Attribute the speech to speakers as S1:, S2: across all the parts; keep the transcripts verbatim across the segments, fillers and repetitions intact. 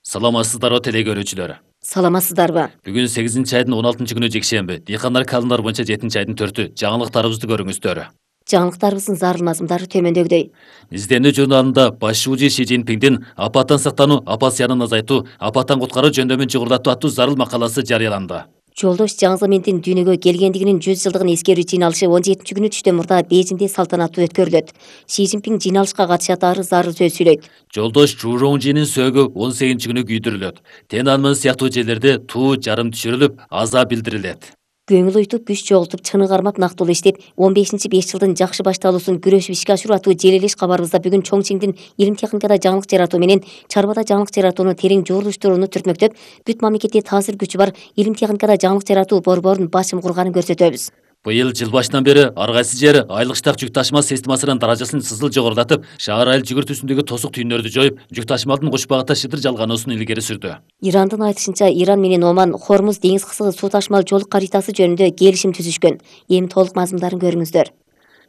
S1: Саламатсыздарбы теле көрүүчүлөр.
S2: Саламатсыздарбы?
S1: Бүгүн сегизинчи айдын он алтынчы күнү жекшемби. Дыйкандар календар боюнча жетинчи айдын төртү. Жаңылыктарыбызды көрүңүздөр.
S2: Жаңылыктарыбыздын зарыл мазмундары төмөндөгүдөй.
S1: Изденүү журналында башчыбыжы Ши Цзиньпиндин апаттан сактануу, апат зыянын азайтуу, апаттан куткаруу жөндөмүн жогорулатуу аттуу зарыл макаласы жарыяланды.
S2: Жолдош Жаң Заминдин дүйнөгө келгендигинин жүз жылдыгын эскерүү жыйналышы он жетинчи күнү түштөн мурда Бейжиңде салтанаттуу өткөрүлөт. Ши Цзиньпин жыйналышка катышат, ары зарыл сөз сүйлөйт.
S1: Жолдош Чжу Роңжинин сөөгү он сегизинчи күнү күйдүрүлөт. Тенанмын сыяктуу жерлерде туу жарым түшүрүлүп, аза билдирилет.
S2: Көңүл уйтуп, күч чогултуп, чыны кармап нактылуу иштеп, он бешинчи беш жылдын жакшы башталуусун күрөшүп ишке ашыруу аттуу желелеш кабарыбызда бүгүн Чоңчиңдин илим техникада жаңылык жаратуу менен чарбада жаңылык жаратууну терең журулуштурууну түртмөктөп, бүт мамлекетте таасир күчү бар илим техникада жаңылык жаратуу борборунун башым курганын көрсөтөбүз.
S1: Быйыл жыл башынан бери ар кайсы жер айлык штат жүк ташыма системасынын даражасын сызыл жогорулатып, шаар айыл жүгүртүүсүндөгү тосук түйүндөрдү жоюп, жүк ташымалдын кош багытта шыдыр жалганоосун илгери сүрдү.
S2: Ирандын айтышынча, Иран менен Оман Хормуз деңиз кысыгы суу ташымал жол каритасы жөнүндө келишим түзүшкөн. Эми толук мазмундарын көрүңүздөр.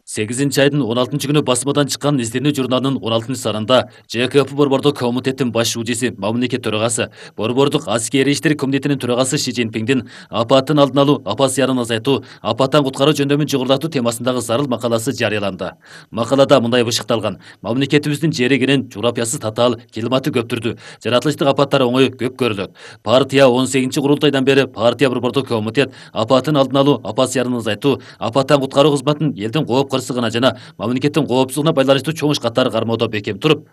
S1: сегизинчи айдын он алтынчы күнү басмадан чыккан изденүү журналынын он алтынчы санында Ж К П борбордук комитеттин баш шужиси, мамлекет төрагасы, борбордук аскерий иштер комитетинин төрагасы Ши Цзиньпиндин апаттын алдын алуу, апат зыянын азайтуу, апаттан куткаруу жөндөмүн жогорулатуу темасындагы зарыл макаласы жарыяланды. Макалада мындай бышыкталган: мамлекетибиздин жери кенен, жуурапиясы татаал, климаты көптүрдүү, жаратылыштык апаттар оңой көп көрүлөт. Партия он сегизинчи курултайдан бери партия борбордук комитет апаттын алдын алуу, апат зыянын азайтуу, апаттан куткаруу кызматын элдин кооп кырсыгына жана мамлекеттин коопсуздугуна байланыштуу чоң иш катары кармоодо бекем туруп,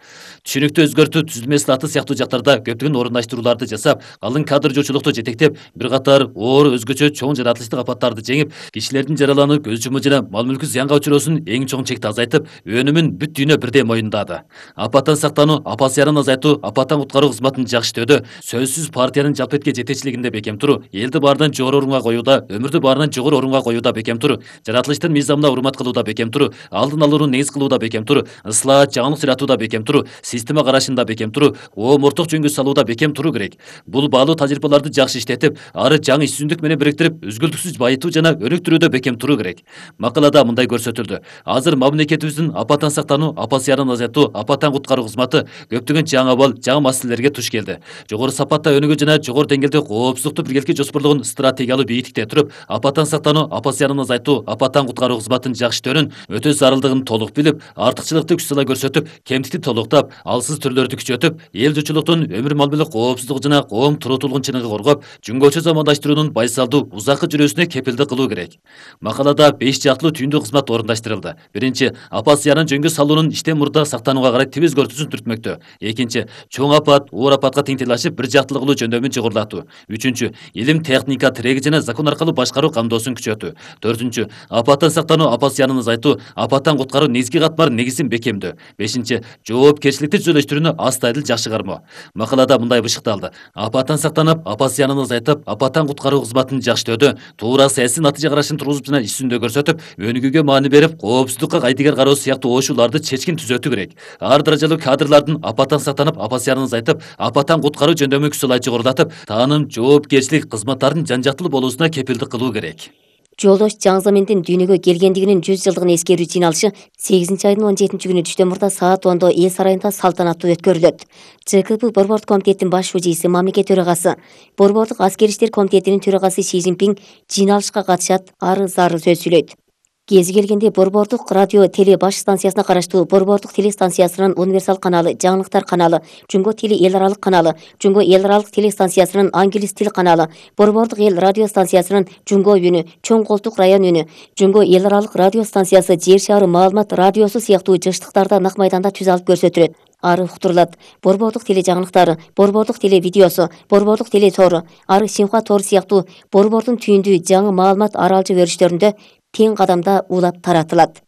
S1: түшүнүктү өзгөртүү, түзүлмө ислаты сыяктуу жактарда көптөгөн орундаштырууларды жасап, калың кадр жоочулукту жетектеп, бир катар оор өзгөчө чоң жаратылыштык апаттарды жеңип, кишилердин жаралануу, көз жумуу жана мал мүлкү зыянга учуроосун эң чоң чекти азайтып, өнүмүн бүт дүйнө бирдей моюндады. Апаттан сактануу, апат зыянын азайтуу, апаттан куткаруу кызматын жакшы иштөөдө сөзсүз партиянын жалпетке жетекчилигинде бекем туруу, элди баарынан жогору орунга коюуда, өмүрдү баарынан жогору орунга коюуда бекем туруу, жаратылыштын мыйзамына урмат кылууда бекем туруу, алдын алууну негиз кылууда бекем туруу, ыслаат, жаңылык жаратууда бекем туруу, система карашында бекем туруу, оомортук жөнгө салууда бекем туруу керек. Бул баалуу тажрыйбаларды жакшы иштетип, ары жаңы иш түзүндүк менен бириктирип, үзгүлтүксүз байытуу жана өнүктүрүүдө бекем туруу керек. Макалада мындай көрсөтүлдү: азыр мамлекетибиздин апаттан сактануу, апат зыянын азайтуу, апаттан куткаруу кызматы көптөгөн жаңы абал, жаңы маселелерге туш келди. Жогору сапатта өнүгүү жана жогору деңгээлде коопсуздукту биргеликке жоспордогон стратегиялуу бийиктикте туруп, апаттан сактануу, апат зыянын азайтуу, апаттан куткаруу кызматынын жакшы иштөөнүн өтө зарылдыгын толук билип, артыкчылыкты күч сала көрсөтүп, кемтикти толуктап, алсыз түрлөрдү күчөтүп, эл журтчулуктун өмүр мал мүлк коопсуздугу жана коом туруутулугун чыныгы коргоп, жүнгөчө замандаштыруунун байсалдуу, узаккы жүрүүсүнө кепилдик кылуу керек. Макалада беш жактылуу түйүндүү кызмат орундаштырылды. Биринчи, апат зыянын жөнгө салуунун иштен мурда сактанууга карай тибиз көрсөтүүсүн түртмөктө. Экинчи, чоң апат, оор апатка тең тилашып, бир жактылуу кылуу жөндөмүн жогорулатуу. Үчүнчү, илим, техника, тиреги жана закон аркылуу башкаруу камдоосун күчөтүү. Төртүнчү, апаттан сактануу, апат зыянын азайтуу, апаттан куткаруу негизги катмар негизин бекемдөө. Бешинчи, жоопкерчиликти түзөлүштүрүүнү астайдыл жакшы кармоо. Макалада мындай бышыкталды: апаттан сактанып, апат зыянын азайтып, апаттан куткаруу кызматын жакшы иштөөдө туура саясий натыйжа карашын тургузуп жана иш жүзүндө көрсөтүп, өнүгүүгө маани берип, коопсуздукка кайтыгер кароо сыяктуу оошууларды чечкин түзөтүү керек. Ар даражалуу кадрлардын апаттан сактанып, апат зыянын азайтып, апаттан куткаруу жөндөмү күч салай жогорулатып, тааным, жоопкерчилик кызматтардын жан жактылуу болуусуна кепилдик кылуу керек.
S2: Жолдош Жаң Заминдин дүйнөгө келгендигинин жүз жылдыгын эскерүү жыйналышы сегизинчи айдын он жетинчи күнү түштөн мурда саат ондо эл сарайында салтанаттуу өткөрүлөт. Ж К П борбордук комитеттин баш шужиси, мамлекет төрагасы, борбордук аскерий иштер комитетинин төрагасы Ши Цзиньпин жыйналышка катышат, ары зарыл сөз сүйлөйт. Кези келгенде борбордук радио теле баш станциясына караштуу борбордук телестанциясынын универсал каналы, жаңылыктар каналы, Жунго теле эл аралык каналы, Жунго эл аралык телестанциясынын англис тил каналы, борбордук эл радио станциясынын Жунго үнү, Чоң Колтук район үнү, Жунго эл аралык радио станциясы, Жер шаары маалымат радиосу сыяктуу жыштыктарда нак майданда түз алып көрсөтүлөт. Ары уктурулат. Борбордук теле жаңылыктары, борбордук теле видеосу, борбордук теле тору, ары Синхуа тору сыяктуу борбордун түйүндүү жаңы маалымат аралжы өрүштөрүндө тең кадамда улап таратылат.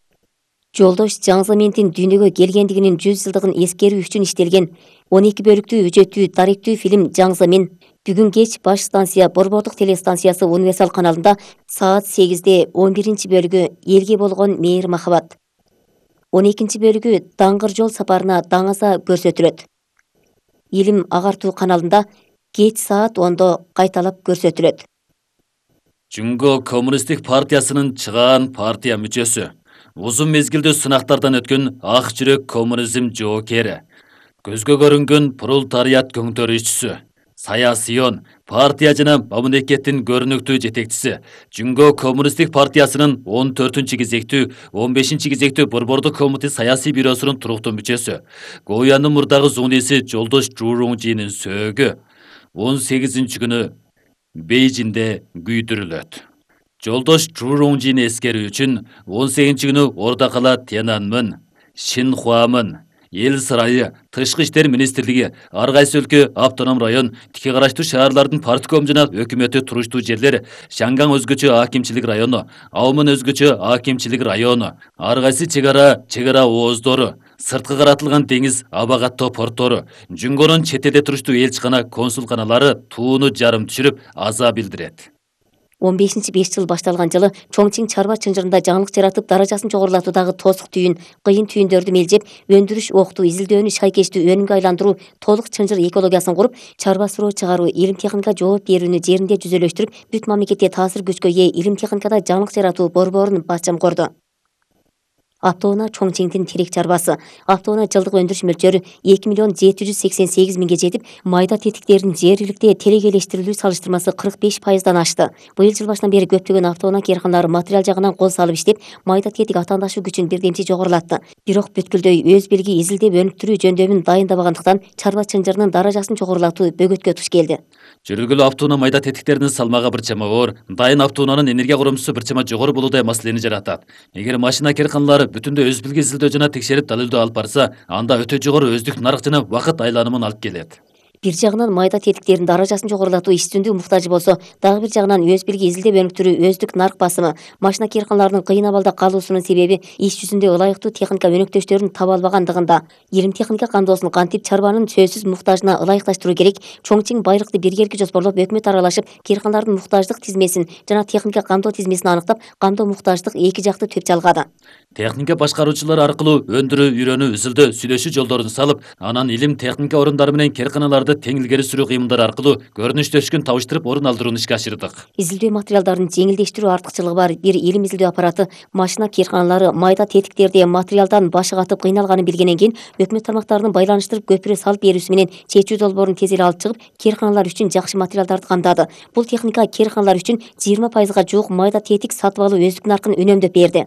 S2: Жолдош Жаң Заминдин дүйнөгө келгендигинин жүз жылдыгын эскерүү үчүн иштелген он эки бөлүктүү үжөттүү даректүү фильм Жаң Замин бүгүн кеч баш станция борбордук телестанциясы универсал каналында саат сегизде он биринчи бөлүгү элге болгон мээри махабат, он экинчи бөлүгү даңгыр жол сапарына даңаза көрсөтүлөт. Илим агартуу каналында кеч саат ондо кайталап көрсөтүлөт.
S1: Жунго коммунисттик партиясынын чыгаан партия мүчөсү, узун мезгилдүү сынактардан өткөн ак жүрөк коммунизм жоокери, Көзгө көрүнгөн пролетариат көңтөрүүчүсү, саясийон, партия жана мамлекеттин көрүнүктүү жетекчиси, Жүнгө коммунисттик партиясынын он төртүнчү кезектүү, он бешинчи кезектүү Борбордук комитет саясий бюросунун туруктуу мүчөсү, Гоянын мурдагы зуңдиси Жолдош Чжуруңжинин сөөгү он сегизинчи күнү Бейжиңде күйдүрүлөт. Жолдош Чжуруңжини эскерүү үчүн он сегизинчи күнү Орда кала Тяньаньмын, Шинхуамын, Эл сарайы, Тышкы иштер министрлиги, ар кайсы өлкө, автоном район, тике караштуу шаарлардын партком жана өкмөтү туруштуу жерлер, Шанган өзгөчө акимчилик району, Аумын өзгөчө акимчилик району, ар кайсы чек ара, чек ара ооздору, сырткы каратылган деңиз аба каттоо порттору, Жүнгөнүн чет элде туруштуу элчикана, консулканалары тууну жарым түшүрүп аза билдирет.
S2: он бешинчи беш жыл башталган жылы Чоңчиң чарба чынжырында жаңылык жаратып, даражасын жогорулатуудагы тосук түйүн, кыйын түйүндөрдү мелжеп, өндүрүш, октуу, изилдөөнү шайкештүү өнүмгө айландыруу, толук чынжыр экологиясын куруп, чарба суроо чыгаруу, илим техника жооп берүүнү жеринде жүзөлөштүрүп, бүт мамлекетте таасир күчкө ээ илим техникада жаңылык жаратуу борборун башчам корду. Аптоона Чоңчиңдин терек чарбасы. Аптоона жылдык өндүрүш мөлчөрү эки миллион жети жүз сексен сегиз миңге жетип, майда тетиктердин жергиликте телекелештирилүү салыштырмасы кырк беш пайыздан ашты. Быйыл жыл башынан бери көптөгөн автоона кээрканалары материал жагынан кол салып иштеп, майда тетик атаандашуу күчүн бирдемчи жогорулатты. Бирок бүткүлдөй өз билги изилдеп өнүктүрүү жөндөмүн дайындабагандыктан чарба чынжырынын даражасын жогорулатуу бөгөткө туш келди.
S1: Жүргүлүү автоона майда тетиктердин салмагы бир чама оор, дайын автоонанын энергия коромусу бир чама жогору болуудай маселени жаратат. Эгер машина кээрканалары бүтүндөй өз билги изилдөө жана текшерип далилдөө алып барса, анда өтө жогору өздүк нарык жана убакыт айланымын алып келет.
S2: Бир жагынан майда тетиктердин даражасын жогорулатуу иштүндүү муктажы болсо, дагы бир жагынан өз билги изилдеп өнүктүрүү өздүк нарык басымы, машина кээрканаларынын кыйын абалда калуусунун себеби иш жүзүндө ылайыктуу техника өнөктөштөрүн таба албагандыгында. Илим техника кандоосун кантип чарбанын сөзсүз муктажына ылайыкташтыруу керек, Чоңчиң байлыкты биргеликке жоспорлоп, өкмөт аралашып, кээрканалардын муктаждык тизмесин жана техника кандоо тизмесин аныктап, кандоо муктаждык эки жакты төп жалгады.
S1: Техника башкаруучулар аркылуу өндүрүү, үйрөнүү, изилдөө, сүйлөшүү жолдорун салып, анан илим техника орундары менен кээрканаларды тең илгери сүрүү кыймылдары аркылуу көрүнүштөшкүн табыштырып орун алдырууну ишке ашырдык.
S2: Изилдөө материалдарын жеңилдештирүү артыкчылыгы бар бир илим изилдөө аппараты машина кээрканалары майда тетиктерди материалдан башы катып кыйналганын билгенден кийин өкмөт тармактарынын байланыштырып көпүрө салып берүүсү менен чечүү долбоорун тез эле алып чыгып, кээрканалар үчүн жакшы материалдарды камдады. Бул техника кээрканалар үчүн жыйырма пайызга жуук майда тетик сатып алуу өздүк наркын үнөмдөп берди.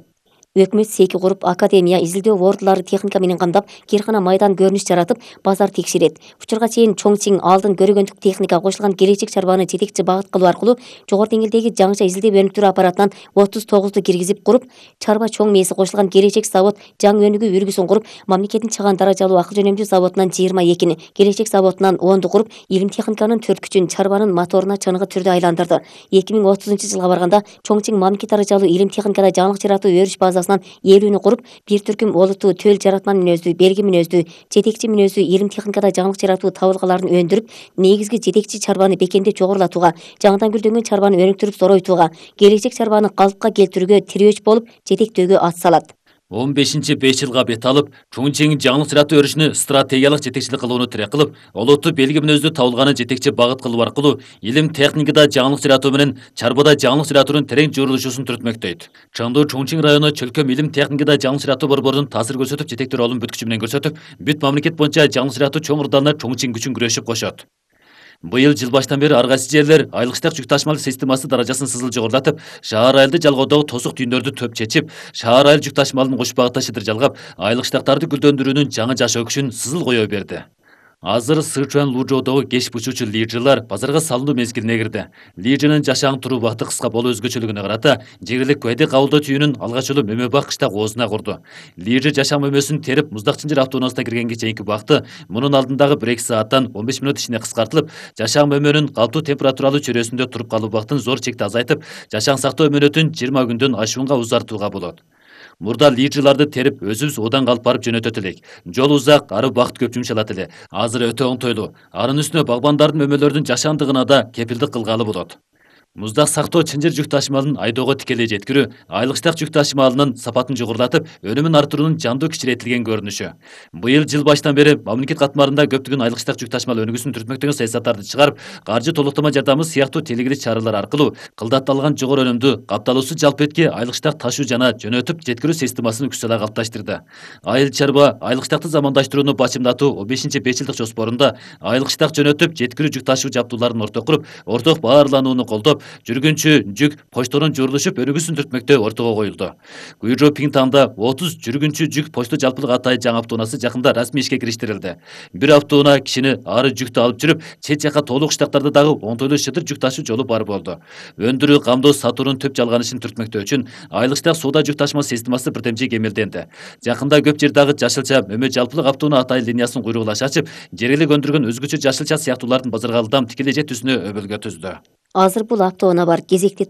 S2: Өкмөт секи куруп, академия, изилдөө ордулары техника менен камдап, кээркана майдан көрүнүш жаратып, базар текшерет. Учурга чейин Чоңчиң алдын көрөгөндүк техника кошулган келечек чарбаны жетекчи багыт кылуу аркылуу жогору деңгээлдеги жаңыча изилдеп өнүктүрүү аппаратынан отуз тогузду киргизип куруп, чарба чоң мээси кошулган келечек завод жаңы өнүгүү үлгүсүн куруп, мамлекеттин чаган даражалуу акыл жөнөмдүү заводунан жыйырма экини, келечек заводунан онду куруп, илим техниканын төрт күчүн чарбанын моторуна чыныгы түрдө айландырды. эки миң отузунчу жылга барганда Чоңчиң мамлекет даражалуу илим техникада жаңылык жаратуу өрүш базасынан элүүнү куруп, бир түркүм олуттуу төл жаратман мүнөздүү, белги мүнөздүү, жетекчи мүнөздүү илим техникада жаңылык жаратуу табылгаларын өндүрүп, негизги жетекчи чарбаны бекемдеп жогорулатууга, жаңыдан гүлдөнгөн чарбаны өнүктүрүп зоройтууга, келечек чарбаны калыпка келтирүүгө тирөөч болуп, жетектөөгө ат салат.
S1: он бешинчи беш жылга бет алып, Чоңчиң жаңылык жаратуу өрүшүнө стратегиялык жетекчилик кылууну тирек кылып, олуттуу белги мүнөздүү табылганы жетекчи багыт кылуу аркылуу илим техникада жаңылык жаратуу менен чарбада жаңылык жаратуунун терең журулушусун түртмөктөйт. Чаңдуу Чоңчиң району чөлкөм илим техникада жаңылык жаратуу борборунун таасир көрсөтүп, жетектүү ролун бүт күчү менен көрсөтүп, бүт мамлекет боюнча жаңылык жаратуу чоң ырдалына Чоңчиң күчүн күрөшүп кошот. Быйыл жыл баштан бери ар кайсы жерлер айлыктык жүк ташымалык системасы даражасын сызыл жогорулатып, шаар айылды жалгоодогу тосук түйүндөрдү төп чечип, шаар айыл жүк ташымалын кош багытта шыдыр жалгап, айлыктыктарды гүлдөндүрүүнүн жаңы жашоо күчүн сызыл кое берди. Азыр Сычуан Лужоодогу кеш бучуучу лижылар базарга салынуу мезгилине кирди. Лижынын жашаң туруу убакыты кыска болуу өзгөчөлүгүнө карата, жергилик куэди кабылдоо түйүнүн алгач жолу Мөмө Бак кыштак оозуна курду. Лижы жашаң мөмөсүн терип, Муздак Чынжыр автоунаасына киргенге чейинки убакыты мунун алдындагы бир эки сааттан он беш мүнөт ичинде кыскартылып, жашаң мөмөнүн калптуу температуралуу чөйрөсүндө туруп калуу убактын зор чекте азайтып, жашаң сактоо мөөнөтүн жыйырма күндөн ашуунга узартууга болот. Мурда лижыларды терип, өзүбүз одан алып барып жөнөтөт элек. Жол узак, ары убакыт көп жумшалат эле. Азыр өтө оңтойлуу. Анын үстүнө багбандардын мөмөлөрдүн жашандыгына да кепилдик кылгалы болот. Муздак сактоо чынжыр жүк ташымалын айдоого тикелей жеткирүү айылыштак жүк ташымалынын сапатын жогорулатып, өнүмүн арттыруунун жандуу кичиретилген көрүнүшү. Быйыл жыл башынан бери мамлекет катмарында көптөгөн айылыштак жүк ташымал өнүгүүсүн түртмөктөгөн саясаттарды чыгарып, каржы толуктама жардамы сыяктуу телегилик чаралар аркылуу кылдатталган жогору өнүмдүү, капталуусу жалпы этки айылыштак ташуу жана жөнөтүп жеткирүү системасын күч сала калыпташтырды. Айыл чарба айылыштакты замандаштырууну бачымдатуу он бешинчи беш жылдык жоспорунда айылыштак жөнөтүп жеткирүү жүк ташуу жабдууларын орток куруп, орток баарланууну колдоп, жүргүнчү жүк почтонун журулушуп өнүгүүсүн түртмөктөө ортого коюлду. Гүйрө Пиңтаңда отуз жүргүнчү жүк почту жалпылык атайын жаңы автоунаасы жакында расмий ишке кириштирилди. Бир автоунаа кишини ары жүктү алып жүрүп, чет жака толук штаттарда дагы оңтойлуу шытыр жүк ташуу жолу бар болду. Өндүрүү, камдоо, сатуунун төп жалганышын түртмөктөө үчүн айылыштак соода жүк ташыма системасы бирдемчи кемелденди. Жакында көп жер дагы жашылча мөмө жалпылык автоунаа атайын линиясын куйругулаш ачып, жергилик өндүргөн өзгөчө жашылча сыяктуулардын базарга ылдам тикелей жетүүсүнө өбөлгө түздү.
S2: Азыр бул автоунаа бар кезекти